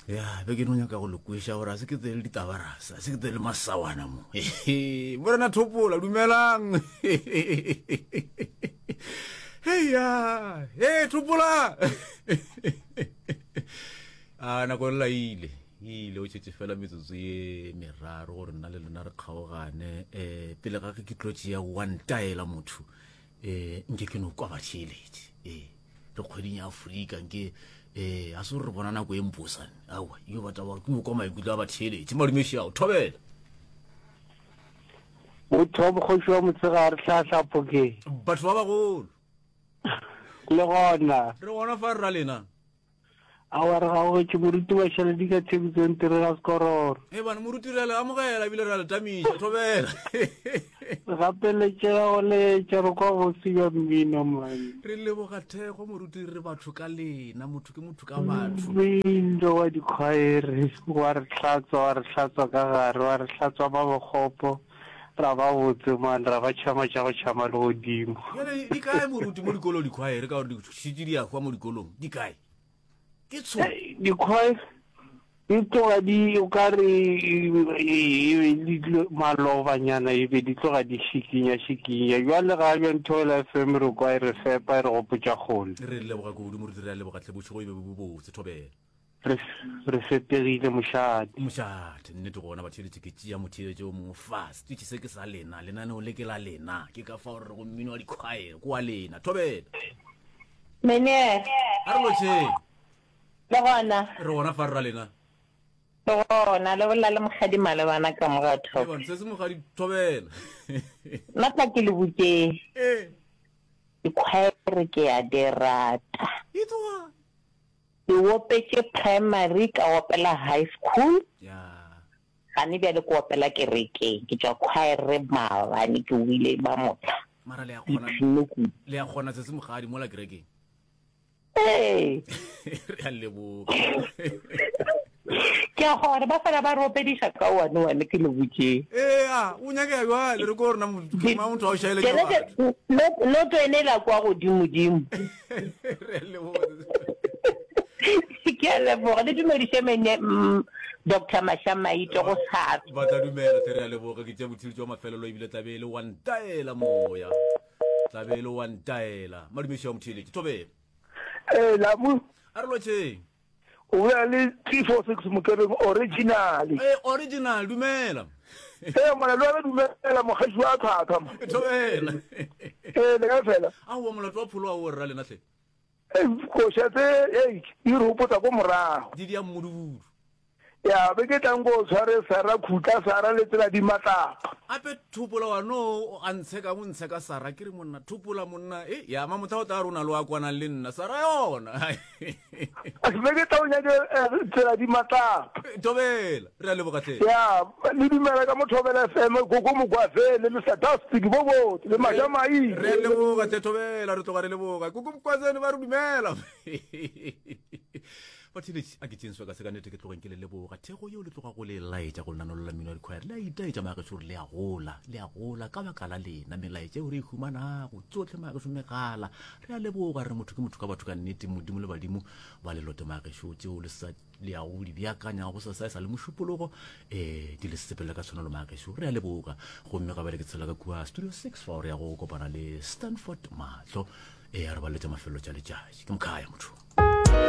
Ya, be ke no nyaka go le kweša gore a se ke tsele ditabarasa, a se ke tsele masawana mo. Morena Thopola, dumelang. Heya, he Thopola. A nako e laile, ile o tšhetše fela metsotso ye meraro gore nna le lena re kgaogane. Eh, pele ga ge ke tlo tšea wa ntaela motho, eh nke ke no kwa batheeletše. Eh. Re kgweding ya Afrika nke eh a se re bona nako e mposane. Aowa, yo batla wa ke kwa maikutlo a batheeletše. Madumeši ao, thobela. Motho wa mokgoši wa motshegare hlahla phokeng. Batho ba bagolo. Le gona. Re gona fa rra lena. Aowa re gaogetše moruti Mašaledi ka Thekisong Tirega Sekororo. Ee bana moruti re a le amogela ebile re a le tamiša thobela. Re gapeletšega go letša re kwa bose bja mmino man. Re leboga thekgo moruti re batho ka lena motho ke motho ka batho. Mmino wa dikhwaere wa re hlatswa wa re hlatswa ka gare wa re hlatswa ba bokgopo ra ba botse man ra ba tšhama tša go tšhama legodimo. Bjale di kae moruti mo dikolong dikhwaere ka gore di šetše di a hwa mo dikolong di kae? Ke tsho. Dikhwaere di tloga di o ka re malobanyana e be di tloga di šikinya šikinya bjale ga bja Nthoela FM re kwa e re fepa e re gopotša kgole. Re leboga kudu moruti re a leboga hle bošego e be bo botse thobela. Re, re fepegile mošate. Mošate, nnete gona batheeletši ke tšea motheeletši o mongwe fa setitšhi se ke sa lena lenaneo le ke la lena ke ka fao re rego mmino wa dikhwaere ke wa lena thobela. Meneer. A re lotšheng. Le gona. Re gona fa rra lena. Le gona, le bolela le Mokgadi Malebana ka mo ga Top. Ebang se se Mokgadi thobela. Nna tla ke le botšeng. Ee. Dikhwaere ke a di rata. E tloga. Ke opetše primary ka opela high school. Gane bjale ke opela kerekeng. Ke tšwa choir maabane ke wile ba motla. Mara le a kgona le a kgona se se mogadi mola kerekeng. Ee. Re a leboga. Ke a kgona ba fela ba re opediša ka one one ke le botšeng. Ee a o nyakega bjale re ko rena motho wa o šaele ke batho. Noto ene la kwa godimo dimo. Re a leboga. Ke a leboga le dumediše mene mm, Dr. Mashamaite go sa. Ba tla dumela tle re a leboga ke tša bothiritši wa mafelelo ebile tlabe e le wa ntaela moya. Tlabe e le wa ntaela. Madumeši wa motheeletši thobela. Ee, Lamu. A re lotšheng. O bolela le 346 Mokereng original. Ee, original, dumela. Ee, ngwana le wena dumela mogaši wa tlhwatlhwa. Thobela. Ee, le kae fela? Aowa molato wa pholo ao rra lena hle. Ee, koša tse ei di re gopotsa ko morago. Di dia mmudubudu. Ya be ke tlang ko tshware Sara khutla Sara le tsela di matlapa. Ape thopola wa no a ntsheka o ntsheka Sara ke re monna thopola monna e ya ma motho o tla rona lo a kwanang le nna Sara yona. Be ke tla o nyake eh, tsela di matlapa. Thobela re a leboga hle. Ya le dumela ka mo Thobela FM koko Mokwazele Mr Dusty bo botse le Maja Mai. Re a leboga hle Thobela re tloga re leboga koko Mokwazele ba re dumela. Batheeletši, a ke tšeeng sebaka se ka nnete ke tlogeng ke le leboga. Thekgo yeo le tloga go le laetša go lenaneo la mmino wa dikhwaere le a itaetša magešo gore le a gola, le a gola ka baka la lena. Melaetša eo re e humanago tsohle magešo megala, re a leboga re motho ke motho ka batho ka nnete. Modimo le badimo ba le lote magešo tšeo le sa le yago go di beakanya go sa sa e sa le mošupologo um di le sepelele ka tshwanelo magešo re a leboga. Gomme ga bjale ke tshela ka kua studio 6 fao re yago go kopana le Stanford Mahlo e a re baletša mafelelo tša letšatši. Ke mokhaya motho.